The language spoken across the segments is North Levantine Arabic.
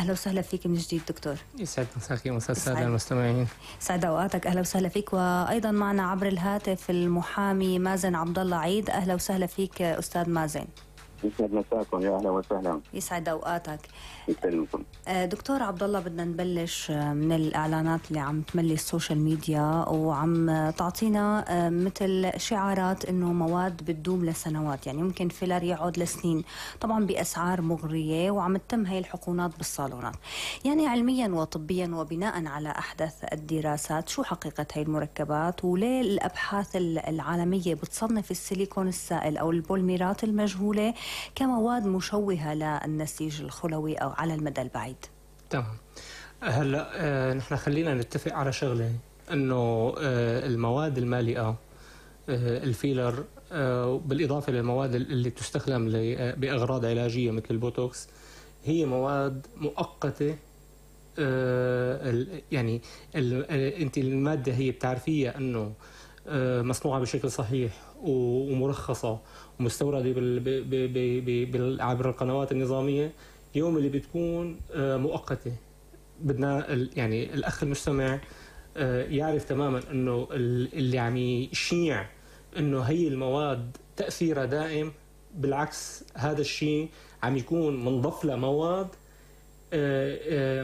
أهلا وسهلا فيك من جديد دكتور. يسعد مساكي ومساء السادة المستمعين. سعد أوقاتك، أهلا وسهلا فيك. وأيضا معنا عبر الهاتف المحامي مازن عبد الله عيد. أهلا وسهلا فيك أستاذ مازن. يسعد مساكم، يا أهلا وسهلا. يسعد أوقاتك. يسلمكم. دكتور عبد الله، بدنا نبلش من الإعلانات اللي عم تملي السوشيال ميديا وعم تعطينا مثل شعارات إنه مواد بتدوم لسنوات، يعني ممكن فيلر يقعد لسنين، طبعا بأسعار مغرية، وعم تتم هي الحقونات بالصالونات. يعني علميا وطبيا وبناء على أحدث الدراسات، شو حقيقة هي المركبات، وليه الأبحاث العالمية بتصنف السيليكون السائل أو البوليمرات المجهولة كمواد مشوهة للنسيج الخلوي أو على المدى البعيد؟ تمام. هلا نحن خلينا نتفق على شغله، انه المواد المالئه الفيلر بالاضافه للمواد اللي تستخدم باغراض علاجيه مثل البوتوكس هي مواد مؤقته. يعني انت الماده هي بتعرفيها انه مصنوعه بشكل صحيح ومرخصه ومستورده عبر القنوات النظاميه، يوم اللي بتكون مؤقته. بدنا يعني الاخ المستمع يعرف تماما انه اللي عم يشيع انه هي المواد تاثيرها دائم، بالعكس هذا الشيء عم يكون منضاف له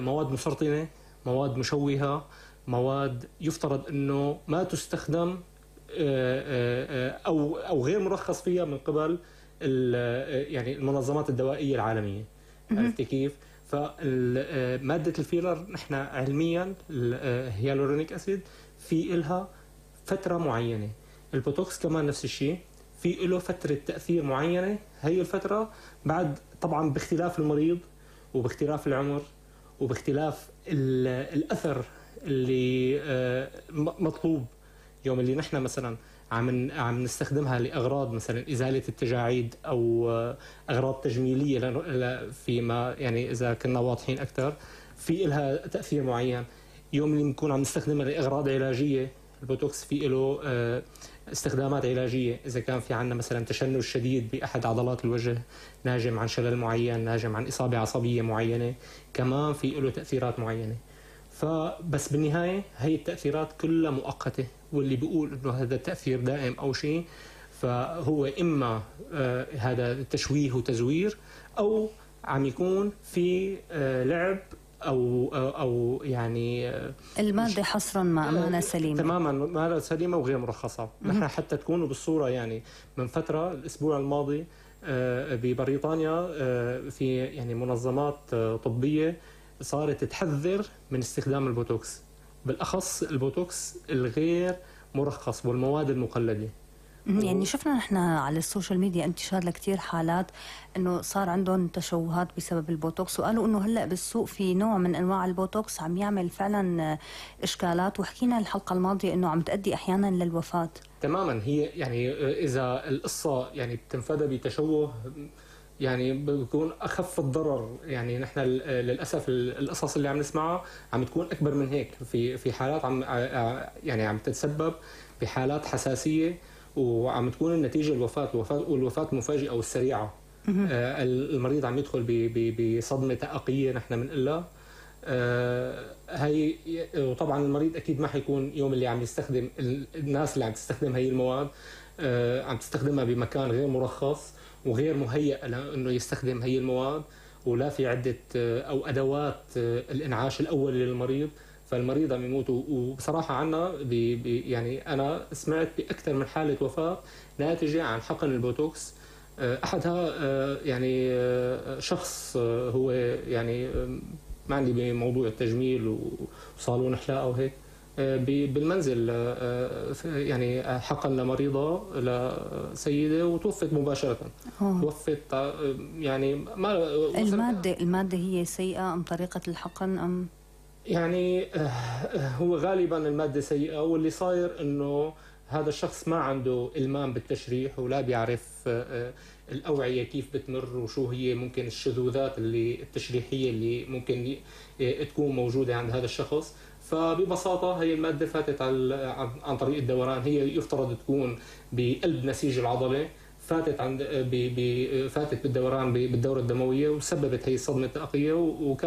مواد مسرطنه، مواد مشوهه، مواد يفترض انه ما تستخدم او غير مرخص فيها من قبل يعني المنظمات الدوائيه العالميه. عرفتي كيف؟ فماده الفيلر نحن علميا الهيالورونيك اسيد في إلها فتره معينه، البوتوكس كمان نفس الشيء في له فتره تاثير معينه. هي الفتره بعد طبعا باختلاف المريض وباختلاف العمر وباختلاف الاثر اللي مطلوب. يوم اللي نحن مثلا عم نستخدمها لاغراض مثلا ازاله التجاعيد او اغراض تجميليه فيما يعني اذا كنا واضحين اكثر في لها تاثير معين. يوم اللي بنكون عم نستخدمها لاغراض علاجيه، البوتوكس في له استخدامات علاجيه، اذا كان في عندنا مثلا تشنج شديد باحد عضلات الوجه ناجم عن شلل معين، ناجم عن اصابه عصبيه معينه، كمان في له تاثيرات معينه. فبس بالنهايه هي التاثيرات كلها مؤقته، واللي بيقول انه هذا التاثير دائم او شيء فهو اما هذا تشويه وتزوير، او عم يكون في لعب او يعني الماده حصرا ما سليمه تماما، ما سليمه وغير مرخصه. نحن حتى تكونوا بالصوره، يعني من فتره الاسبوع الماضي ببريطانيا في يعني منظمات طبيه صارت تحذر من استخدام البوتوكس، بالاخص البوتوكس الغير مرخص والمواد المقلده. يعني شفنا نحن على السوشيال ميديا انتشار لكثير حالات انه صار عندهم تشوهات بسبب البوتوكس، وقالوا انه هلا بالسوق في نوع من انواع البوتوكس عم يعمل فعلا اشكالات، وحكينا الحلقه الماضيه انه عم تؤدي احيانا للوفاه. تماما. هي يعني اذا القصه يعني بتنفذ بتشوه يعني بيكون اخف الضرر. يعني نحن للاسف القصص اللي عم نسمعها عم تكون اكبر من هيك، في حالات عم تتسبب بحالات حساسيه، وعم تكون النتيجه الوفاه المفاجئه والسريعه. المريض عم يدخل بصدمه تأقية نحن بنقول هي. وطبعا المريض اكيد ما حيكون يوم اللي عم يستخدم، الناس اللي عم تستخدم هي المواد عم تستخدمها بمكان غير مرخص وغير مهيئ لانه يستخدم هي المواد، ولا في عده او ادوات الانعاش الاول للمريض، فالمريض عم يموت. وبصراحه عنا يعني انا سمعت باكثر من حاله وفاه ناتجه عن حقن البوتوكس. احدها يعني شخص هو يعني ما عندي بموضوع التجميل وصالون حلاقه وهيك، بالمنزل يعني حقن لمريضه لسيده وتوفت مباشره. توفت يعني ما الماده هي سيئه ام طريقه الحقن ام يعني هو غالبا الماده سيئه، واللي صاير انه هذا الشخص ما عنده إلمام بالتشريح ولا بيعرف الأوعية كيف بتمر وشو هي ممكن الشذوذات التشريحية اللي ممكن تكون موجودة عند هذا الشخص. فببساطة هي المادة فاتت عن طريق الدوران، هي يفترض تكون بقلب نسيج العضلة، فاتت بالدوران بالدورة الدموية وسببت هي الصدمة التأقية.